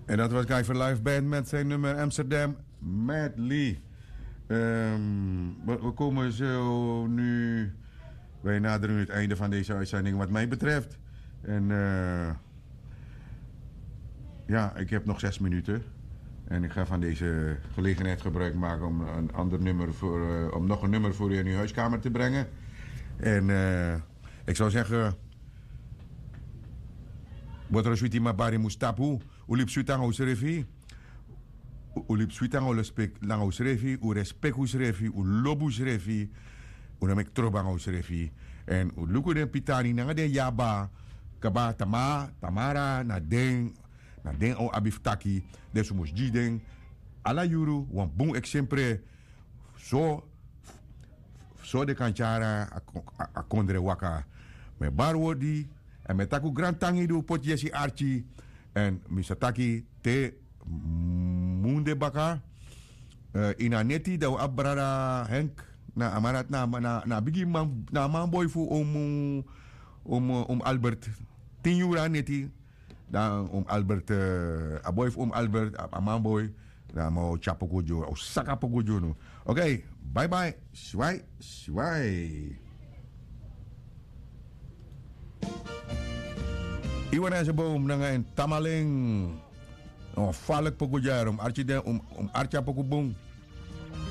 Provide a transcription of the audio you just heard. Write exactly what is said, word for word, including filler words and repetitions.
En dat was Guy for Life Band met zijn nummer Amsterdam Medley. Ehm, we, we komen zo nu, wij naderen nu het einde van deze uitzending wat mij betreft. En eh, ja, ik heb nog zes minuten. En ik ga van deze gelegenheid gebruik maken om een ander nummer voor, eh, om nog een nummer voor u in uw huiskamer te brengen. En eh, ik zou zeggen, Botro switi mabari mustapu, u libi switi nanga usrefi. U libi switi nanga u respek nanga usrefi, u respek usrefi, u lobi usrefi. U no meki trobo nanga usrefi. Èn u luku den pitani nanga den yaba, kaba tama tamara na den, na den o abi fu taki. Den su mus gi den ala yuru wan bun eksempre. So so den kan tyari a kondre waka. Mi e bari wordi èn mi e taki un grantangi di un poti yesi arki. Èn mi sa taki te mun de baka, ini a neti dan un abi brada henk, na a man dati na a bigi man na a manboi fu omu omu albert. Tin yuru na neti. Dan omu albert, a boi fu omu albert a manboi. Dan a man o tyari poku gi unu a o saka poku gi unu. Okei. Baibai. Swai. Swai. Iwan na en se bowm nanga en tamalen. Wan falek poku dyari un arki den un arki a poku bun.